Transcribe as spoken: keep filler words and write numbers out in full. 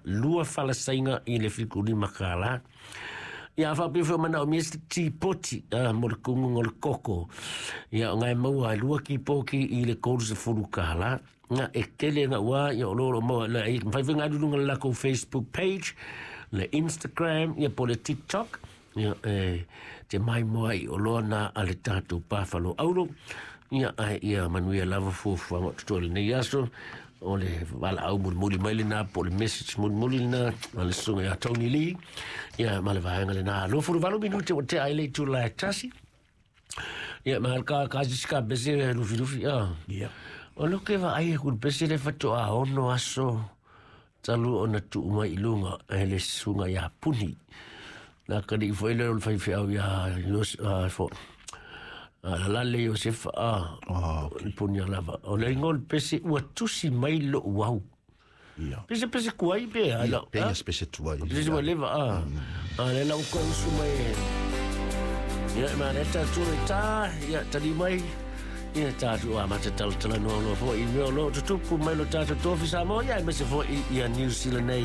lua falasaiga i le fitu lima kālā. Ia, a faapea foi o manaomia se tipoti a, mo le kuguga o le koko. Ia, o gae maua e lua kipoki i le tolu sefulu kālā. Ga e tele ga ua, ia o lo o maua le mafai foi ga luga le lakou Facebook page, le Instagram, ia po le TikTok. Ia e te mai moa i o loa na a le tatou pafalo aulo. Ia ai ia manuia lava fuafuaga o totoe lenei aso. O le valaau mulimuli mai lena po o le message mulimuli lena a le susuga ia Tony Lee. Ia ma le vaega lena. Luafulu valu minute ua tea ai le itula e tasi. Ia ma ka ka sisi ka pese lufilufi a. Ia. O lo ke vaai e ku pese le fatoa ono aso talu ona tuu mai i luga e le susuga ia Puni. Na kani foi le o le faifeau ia Yos a fo. A la le Yosefa a. Ah, okay. Puni lava. O le ingoa o le pese ua tusi mai lo wau. Ia. Pese pese kuai pe a la. Pe ia pese tuai. Pese ua leva a. A le la uko usu mai. Ia ma le ta tu e ta ia tali mai. Ia tātou a mata talatala noa loa foi i mea o lo tutupu mai lo tātou tofi Samoa ia aemaise foi ia New Zealand nei.